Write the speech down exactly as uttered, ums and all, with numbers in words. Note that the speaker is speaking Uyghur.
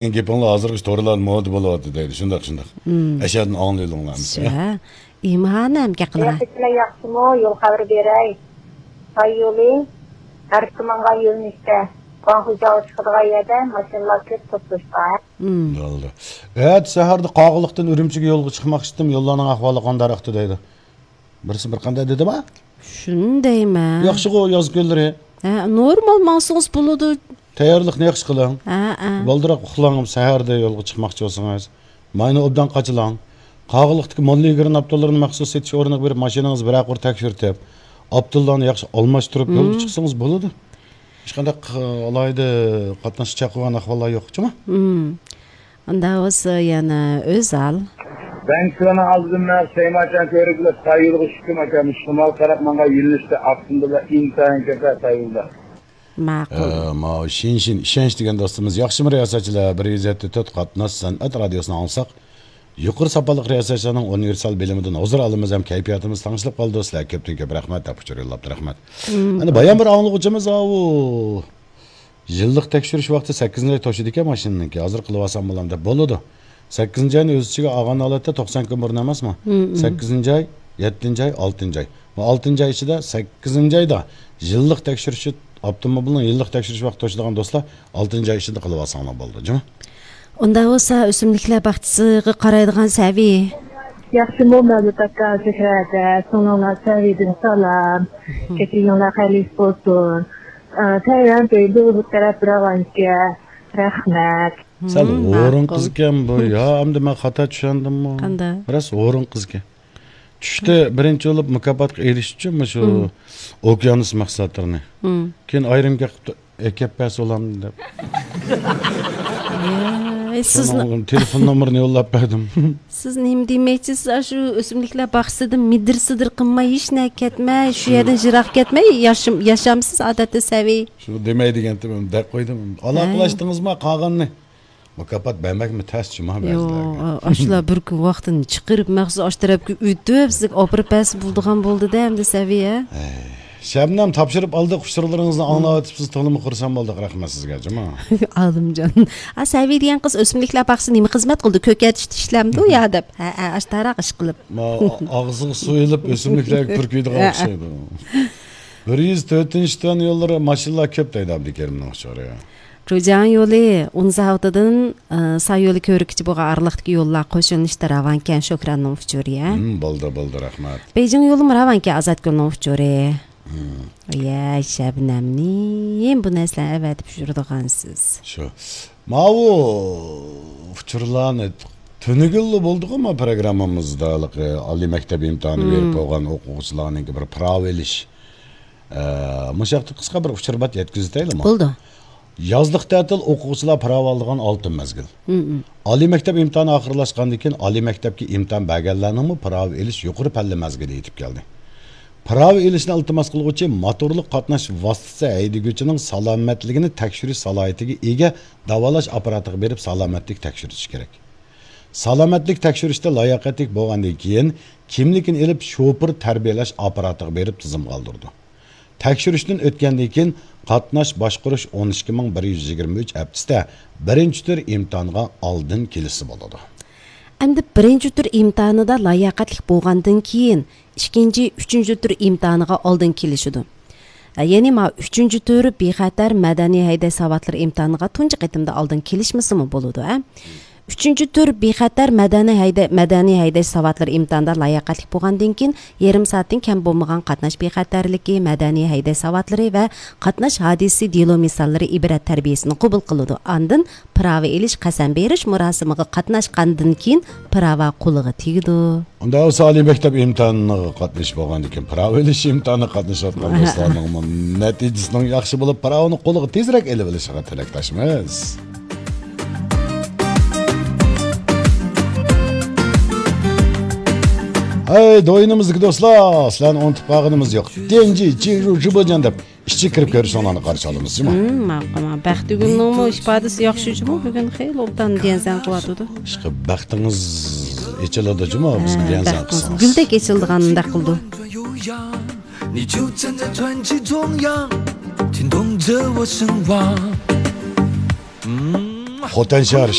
گېپىڭلار ھازىرغىچە تورلاردا مودا بولۇۋاتىدۇ دەيدۇ. شۇنداق، شۇنداق. مم. ئەشەدىن ئاڭلىۋېلىڭلار. شۇ، ھە. ئىمانەم گەپ قىلغان. قاياققا كېلە ياخشىمۇ؟ يول خەۋىرى بېرەي. ساييولى، ھەركىمانغا يۆنىلىشتە، گۇاڭخۇجياۋغا چىقىدىغان يەردە ماشىنىلار كۆپ توسۇلۇشقان. مم. بولدى. ئەتە سەھەردە قاغىلىقتىن ئۈرۈمچىگە يولغا چىقماقچىدىم. يوللارنىڭ ئەھۋالى قانداقتى دەيدۇ. بىرسى بىر قانداق دېدىما؟ شۇنى دەيمەن. ياخشىغۇ ياز كۈنلىرى. ھە، نورمال ماڭسىڭىز بولىدۇ. تەييارلىقنى ياخشى قىلىڭ. ھە، ھە. بالدۇرراق ئۇخلاڭ، سەھەردە يولغا چىقماقچى بولسىڭىز. ماينى ئوبدان قاچىلاڭ. قاغىلىقتىكى موللىگرىن ئاپتوللىرىنى مەخسۇس سېتىش ئورنىغا بېرىپ، ماشىنىڭىزنى بىرەر قۇر تەكشۈرتۈپ، ئاپتوللارنى ياخشى ئالماشتۇرۇپ يولغا مم. چىقسىڭىز بولىدۇ. ھېچقانداق، ئالاھىدە قاتناشقا چاقىرغان ئەھۋاللار يوق، جۇمۇ؟ مم. ئۇنداق بولسا يەنە ئۆزال. بانكىلارنىڭ ئالدىدىن مەن سەيماچان كۆرۈپ، سايىلغا چۈشتۈم ئاكام. شىمال تەرەپ ماڭغان يۆنىلىشتە ئاپتوموبىللار ئىنتايىن كۆپ سايىلدا. ماقۇل. ئە، ماۋۇ شىنشىن ئىشەنچ دېگەن دوستىمىز، ياخشىمۇ رىياسەتچىلەر؟ بىر يۈز يەتتە تۆت قاتناش سەنئەت رادىيوسىنى ئاڭلىساق، يۇقىرى ساپالىق رىياسەتچىلەرنىڭ ئۇنىۋېرسال بىلىمىدىن ھۇزۇر ئالىمىز ھەم كەيپىياتىمىز تەڭشىلىپ قالىدۇ. سىلەرگە كۆپتىن كۆپ رەھمەت دەپ ئۇچۇر يوللاپتۇ. رەھمەت. مم. ئەنە بايام بىر ئاڭلىغۇچىمىز ئاۋۇ يىللىق تەكشۈرۈش ۋاقتى سەككىزىنچى ئاي توشىدىكەن ماشىنىنىڭكى. ھازىر قىلىۋالسام بولامدۇ دەپ بولىدۇ. سەككىزىنچى ئاينى ئۆز ئىچىگە ئالغان ھالەتتە توقسان كۈن بۇرۇن ئەمەسمۇ؟ مم، مم. سەككىزىنچى ئاي، يەتتىنچى ئاي، ئالتىنچى ئاي. بۇ ئالتىنچى ئاي ئىچىدە، سەككىزىنچى ئايدا يىللىق تەكشۈرۈشى، ئاپتوموبىلنىڭ يىللىق تەكشۈرۈش ۋاقتى توشىدىغان دوستلار ئالتىنچى ئاي ئىچىدە قىلىۋالساڭلار بولىدۇ، جۇمۇ. ئۇنداق بولسا ئۆسۈملۈكلەر باغچىسىغا قارايدىغان سەۋى. ياخشىمۇ مەۋلۇت ئاكا، زۆھرە ھەدە، سىڭلىڭلار سەۋىدىن سالام. كېچىگىڭلار خەيرلىك بولسۇن. ئە، تەيۋەن بېيجىڭ بۇ تەرەپ راۋانكە. رەھمەت. سەل ھورۇن قىز ئىكەن بۇ. يا، ئەمدى مەن خاتا چۈشەندىممۇ؟ قانداق؟ راست ھورۇن قىز ئىكەن. چۈشتە بىرىنچى بولۇپ مۇكاپاتقا ئېرىشىشچۇ مۇشۇ ئوكيانۇس مەھسۇلاتلىرىنى. كېيىن ئايرىم گەپ قىپتۇ، ئەكەپ بەرسە بولامدۇ دەپ. ئەي، سىزنىڭ تېلېفون نومۇرىنى يوللاپ بەردىم. سىز نېمە دېمەكچىسىز؟ ئاشۇ ئۆسۈملۈكلەر باغچىسىدىن مىدىر-سىدىر قىلماي، ھېچ نەگە كەتمەي، شۇ يەردىن يىراق كەتمەي ياشام-، ياشامسىز ئادەتتە سەۋىي؟ شۇ دېمەي دېگەنتىم، دەپ قويدۇم. ئالاقىلاشتىڭىزما قالغاننى؟ مۇكاپات بەرمەكمۇ تەس جۇما بەزىلەرگە. يوق، ئاشۇلار بىر كۈن ۋاقتىنى چىقىرىپ، مەخسۇس ئاشۇ تەرەپكە ئۆتۈپ، سىزگە ئاپىرىپ بەرسە بولىدىغان بولدى-دە، ئەمدى سەۋىيە. ھەي، شەبنەم، تاپشۇرۇپ ئالدۇق، ئۇچۇرلىرىڭىزنى ئاڭلاۋېتىپسىز، تولىمۇ خۇرسەن بولدۇق، رەھمەت سىزگە، جۇما. ئالىمجان. ئا، سەۋىي دېگەن قىز ئۆسۈملۈكلەر باغچىسىدا نېمە خىزمەت قىلىدۇ؟ كۆكەرتىشتە ئىشلەمدۇ يا دەپ. ھە، ھە، ئاشتاراق ئىش قىلىپ. ما، ئاغزىغا سۇ ئېلىپ ئۆسۈملۈكلەرگە پۈركۈيدىغان ئوخشايدۇ. بىر يۈز تۆتىنچى تۈەن يوللىرى ماشىنىلار كۆپ دەيدۇ ئابدۇكېرىمنىڭ ئۇچۇرى. جۇجياڭ يولى ئۇن زاۋۇتىدىن، ئى، ساي يولى كۆۋرۈكىچە بولغان ئارىلىقتىكى يوللار قوشۇلۇشتا راۋانكەن شوپۇرنىڭ ئۇچۇرى، ھە؟ ھىم، بولدى، بولدى، رەھمەت. بېيجىڭ يولىمۇ راۋانكەن ئازادگۈلنىڭ ئۇچۇرى. ھىم. يە، شەبنەمنى بۇ نەرسىلەرنى ئەۋەتىپ يۈرىدىغانسىز. شۇ. ماۋۇ ئۇچۇرلارنى تۈنۈگۈنلا بولدىغۇ ما پروگراممىمىزدا، ھېلىقى ئالىي مەكتەپ ئىمتىھانى بېرىپ بولغان ئوقۇغۇچىلارنىڭكى بىر پىراۋا ئېلىش. ئە، مۇشۇ ھەقتە قىسقا بىر ئۇچۇر بار، يەتكۈزۈۋېتەيلىمۇ؟ بولىدۇ. يازلىق تەتىل ئوقۇغۇچىلار پىراۋا ئالىدىغان ئالتۇن مەزگىل. مم، مم. ئالىي مەكتەپ ئىمتىھانى ئاخىرلاشقاندىن كېيىن، ئالىي مەكتەپكە ئىمتىھان بەرگەنلەرنىڭمۇ پىراۋا ئېلىش يۇقىرى پەللە مەزگىلى يېتىپ كەلدى. پىراۋا ئېلىشنى ئىلتىماس قىلغۇچى موتورلۇق قاتناش ۋاسىتىسى ھەيدىگۈچىنىڭ سالامەتلىكىنى تەكشۈرۈش سالاھىيىتىگە ئىگە داۋالاش ئاپپاراتىغا بېرىپ سالامەتلىك تەكشۈرتۈشى كېرەك. سالامەتلىك تەكشۈرۈشتە لاياقەتلىك بولغاندىن كېيىن، كىملىكىنى ئېلىپ، شوپۇر تەربىيەلەش ئاپپاراتىغا بېرىپ تىزىمغا ئالدۇرىدۇ. تەكشۈرۈشتىن ئۆتكەندىن كېيىن، قاتناش باشقۇرۇش ئون ئىككى مىڭ بىر يۈز يىگىرمە ئۈچ ھەپتىسىدە بىرىنچى تۈر ئىمتىھانغا ئالدىن كېلىشسە بولىدۇ. ئەمدى بىرىنچى تۈر ئىمتىھانىدا لاياقەتلىك بولغاندىن كېيىن، ئىككىنچى، ئۈچىنچى تۈر ئىمتىھانىغا ئالدىن كېلىشىدۇ. يەنى ما ئۈچىنچى تۈر بىخەتەر مەدەنىي ھەيدەش ساۋاتلىرى ئىمتىھانىغا تۇنجى قېتىمدا ئالدىن كېلىشمىسىمۇ بولىدۇ، ھە؟ ئۈچىنچى تۈر بىخەتەر مەدەنىي ھەيدە-، مەدەنىي ھەيدەش ساۋاتلىرى ئىمتىھانىدا لاياقەتلىك بولغاندىن كېيىن، يېرىم سائەتتىن كەم بولمىغان قاتناش بىخەتەرلىكى، مەدەنىي ھەيدەش ساۋاتلىرى ۋە قاتناش ھادىسىسى دېلو مىساللىرى ئىبرەت تەربىيەسىنى قوبۇل قىلىدۇ. ئاندىن پىراۋا ئېلىش، قەسەم بېرىش مۇراسىمىغا قاتناشقاندىن كېيىن پىراۋا قولىغا تېگىدۇ. ئۇنداق بولسا ئالىي مەكتەپ ئىمتىھانىغا قاتنىشىپ بولغاندىن كېيىن پىراۋا ئېلىش ئىمتىھانىغا قاتنىشىۋاتقان دوستلارنىڭمۇ نەتىجىسىنىڭ ياخشى بولۇپ، پىراۋىنى قولىغا تېزرەك ئېلىۋېلىشىغا تىلەكداشمىز. ھەي، دوينىمىزدىكى دوستلار، سىلەرنى ئۇنتۇپ قالغىنىمىز يوق. دېنجى جىرۇ جىبىجان دەپ ئىچىگە كىرىپ كۆرۈشۈڭلارنى قارشى ئالىمىز، جۇمۇ. ھىم، ماقۇل، ماقۇل. بەختىگۈلنىڭمۇ ئىپادىسى ياخشى، جۇمۇ، بۈگۈن خېلى ئوبدان دىيەنسەن قىلىۋاتىدۇ. ئىشقىلىپ بەختىڭىز ئېچىلىدۇ، جۇمۇ، بىزگە ھە، دىيەنسەن قىلسىڭىز. گۈلدەك ئېچىلىدىغان ئۇنداق قىلىدۇ. 你就站在传奇中央，牵动着我神往。嗯。خوتەن شەھەر